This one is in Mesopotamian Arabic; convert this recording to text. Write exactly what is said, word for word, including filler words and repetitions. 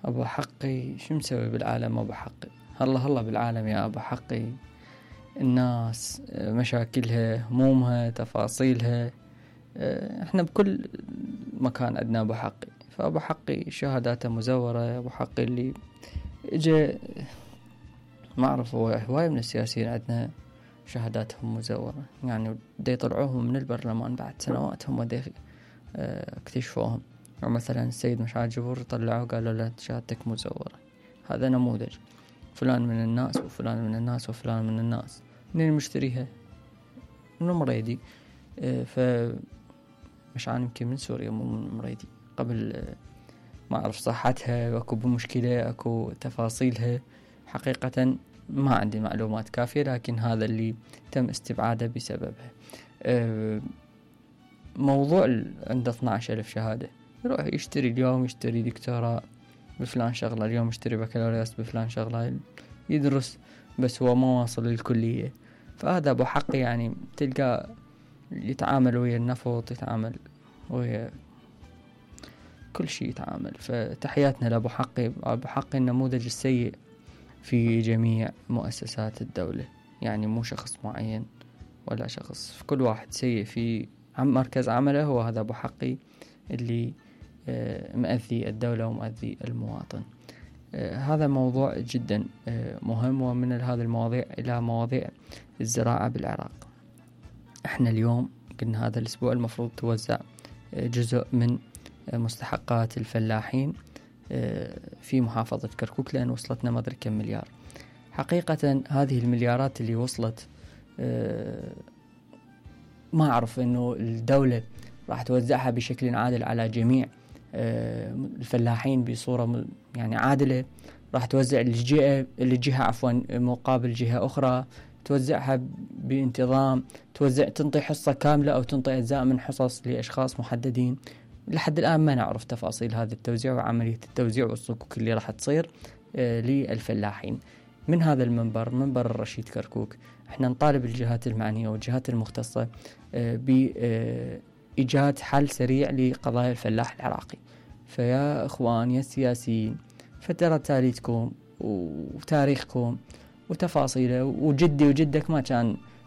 أبو حقي شو مسوي بالعالم أبو حقي؟ هلا هلا بالعالم يا أبو حقي، الناس مشاكلها همومها تفاصيلها، احنا بكل مكان عندنا أبو حقي. فأبو حقي شهاداته مزورة، أبو حقي اللي اجا ما أعرف هو هواية من السياسيين عندنا شهاداتهم مزورة، يعني دا يطلعوهم من البرلمان بعد سنوات هم دا اكتشفوهم. ومثلا السيد مشعل جبور طلعوا قالوا له شهادتك مزورة. هذا نموذج فلان من الناس وفلان من الناس وفلان من الناس. منين مشتريها؟ من مريدي. فمشعل يمكن من سوريا مو من مريدي. قبل ما أعرف صحتها أكو بمشكلة أكو تفاصيلها، حقيقة ما عندي معلومات كافية، لكن هذا اللي تم استبعاده بسببها. موضوع عنده اثنا عشر ألف شهادة، يروح يشتري اليوم يشتري دكتوراه بفلان شغلة، اليوم يشتري بكالوريوس بفلان شغلة، يدرس بس هو ما واصل للكلية. فهذا أبو حقي، يعني تلقى يتعامل ويا النفط، يتعامل ويا كل شيء يتعامل. فتحياتنا لأبو حقي. أبو حقي النموذج السيء في جميع مؤسسات الدولة، يعني مو شخص معين ولا شخص، في كل واحد سيء في مركز عمله هو هذا أبو حقي اللي مؤذي الدولة ومؤذي المواطن. هذا موضوع جدا مهم، ومن هذه المواضيع إلى مواضيع الزراعة بالعراق. احنا اليوم قلنا هذا الأسبوع المفروض توزع جزء من مستحقات الفلاحين في محافظة كركوك، لأن وصلتنا ما أدري كم مليار. حقيقة هذه المليارات اللي وصلت ما أعرف إنه الدولة راح توزعها بشكل عادل على جميع الفلاحين بصورة يعني عادلة. راح توزع الجهة الجهة عفوا مقابل جهة أخرى، توزعها بانتظام، توزع تنطي حصة كاملة أو تنطي أجزاء من حصص لأشخاص محددين. لحد الآن ما نعرف تفاصيل هذا التوزيع وعملية التوزيع والصكوك اللي راح تصير للفلاحين. من هذا المنبر، منبر الرشيد كركوك، احنا نطالب الجهات المعنية والجهات المختصة بإيجاد حل سريع لقضايا الفلاح العراقي. فيا اخوان يا السياسيين، فترى تاريخكم وتاريخكم وتفاصيله، وجدي وجدك ما كان